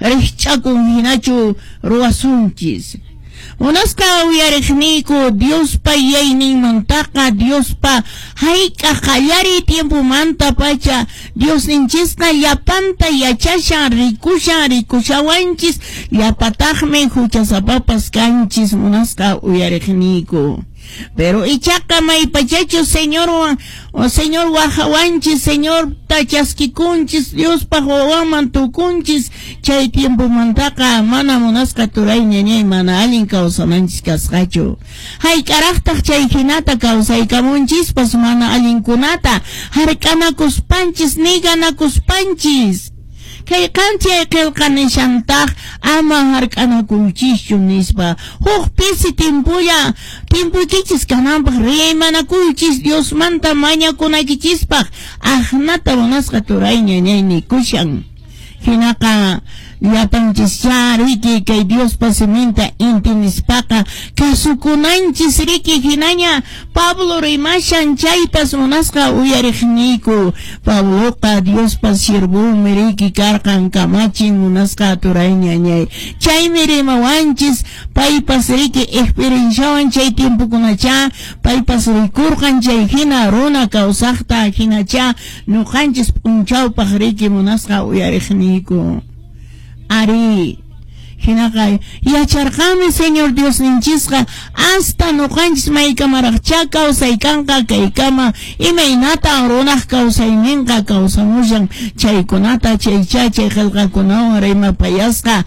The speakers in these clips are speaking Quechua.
Rikch'akun hinachu ruwasunchis. Munasqa uyariqniyku, Diospa yuyayninmantaqa, Diospa hayk'aq qallariy tiempomantapacha Diosninchisqa llapanta yachashan, rikushan, rikushawanchis, llapataqmi huchasapapas kanchis, munasqa uyariqniyku. Pero ichaqa maypachachus Señorwan, Señor wajawanchis, Señorta chaskikunchis, Diospaq wawanman tukunchis, chay tiempomantaqa mana munasqa turay ñañay mana allin kawsananchis kasqachu. Hayk'araqtaq chay hinata kawsaykamunchispas mana allinkunata hark'anakuspanchis, niganakuspanchis. Kay qanchay qillqa nishantaq ama hark'anakuychischu nispa. Huk pisi tiempolla tiempoykichis kananpaq rimanakuychis Diosmanta mañakunaykichispaq aqnata munasqa turay ñañay nikushan. Hinaqa llapanchischá riki kay Diospa siminta intinispaqa kasukunanchis riki hinaña Pablo rimashan chaypas munasqa uyariqniyku. Pabloqa Diospa siervonmi riki karqan kamachin munasqa turay ñañay. Chaymi rimawanchis paypas riki experienciawan chay tiempokunachá paypas rikurqan chay hina runa kawsaqta hinachá ñuqanchis p'unchawpaq riki munasqa uyariqniyku. Ari, hinaqa yacharqanmi Señor Diosninchisqa hasta ñuqanchis maykamaraqchá kawsaykanqa kaykama imaynatan runaq kawsayninqa kawsamushan chaykunata chaychá chay qillqakunawan rimapayasqa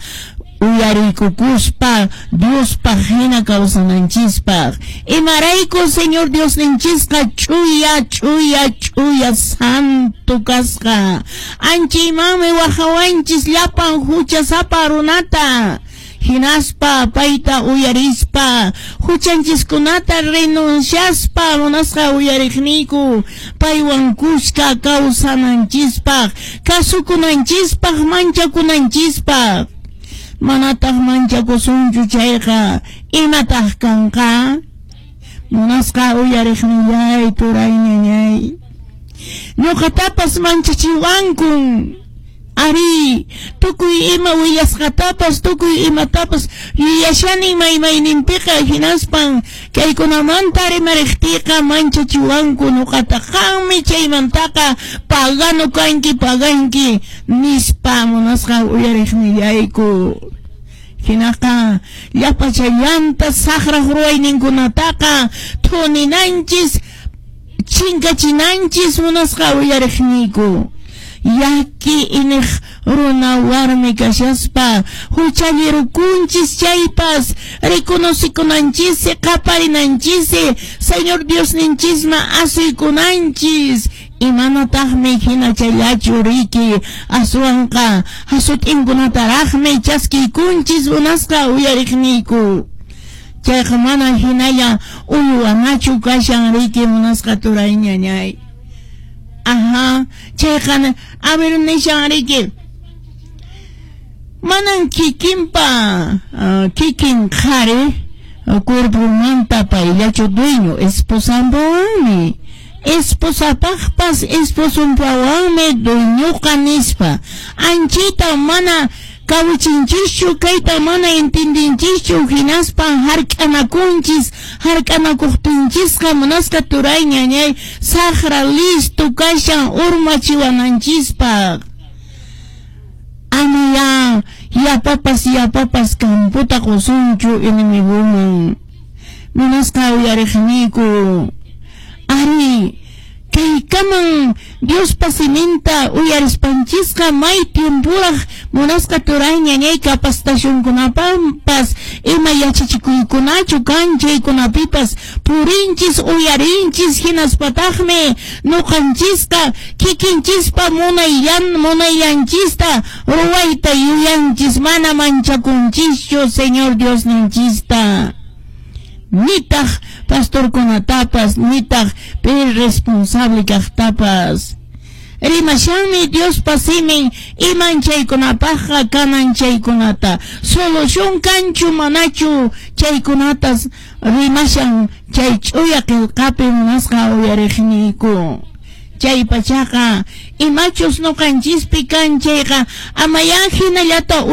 uyariykukuspa Diospaq hina kawsananchispaq. Imarayku Señor Diosninchisqa ch'uya ch'uya ch'uya santo kasqa. Anchaymanmi wajawanchis llapan huchasapa runata. Hinaspa payta uyarispa huchanchiskunata renunciaspa munasqa uyariqniyku paywan kuska kawsananchispaq kasukunanchispaq manchakunanchispaq. Manataq manchakusunchu chayqa imataq kanqa? Munasqa uyariqnillay turay ñañay. Ñuqatapas manchachiwankun. Ari, tukuy ima willasqatapas, tukuy imatapas yuyashani maymayninpiqa hinaspan kaykunamanta rimariqtiyqa manchachiwanku ñuqata qanmi chaymantaqa pagano kanki paganki nispa munasqa uyariqnillayku. Hinaqa llapachallanta saqraq ruwayninkunataqa thuninanchis chinkachinanchis munasqa uyariqniyku. Llaki iniq runa warmi kashaspa huchallirukunchis chaypas reconocikunanchis qaparinanchis Señor Diosninchisman asuykunanchis imanataqmi hina chayllachu riki aswanqa hasut'inkunataraqmi chaskiykunchis munasqa uyariqniyku. Chayqa mana hinalla uywanachu kashan riki munasqa turay ñañay. Ajá, chayqa a ver nishan riki manan kikinpa kikin qhari cuerpomanta payllachu dueño esposanpawanmi esposapaqpas esposonpawanmi dueñoqa nispa anchita mana kawichinchischu kayta mana entendinchischu hinaspa hark'anakunchis hark'anakuqtinchisqa munasqa turay ñañay saqra listo kashan urmachiwananchispaq. Amaya yapapas yapapas camputa qusunchu enemiguman munasqa uyariqniyku. Ari, kaykaman Diospa siminta uyarispanchisqa may tiempuraq munasqa turay ñañay capacitacionkunapanpas ima yachachikuykunachu kan chaykunapipas purinchis uyarinchis hinaspataqmi ñuqanchisqa kikinchispa munaylanchista ruwayta yuyanchis mana manchakunchischu Señor Diosninchista. Nitaq pastorkunatapas nitaq pi responsable kaqtapas. Rimashanmi Diospa simin iman chaykunapaqqa kanan chaykunata. Solución kanchu manachu chaykunatas rimashan chay ch'uya qillqapi munasqa uyariqniyku. Chay pachaqa imachus ñuqanchispi kan chayqa amayá hinallata.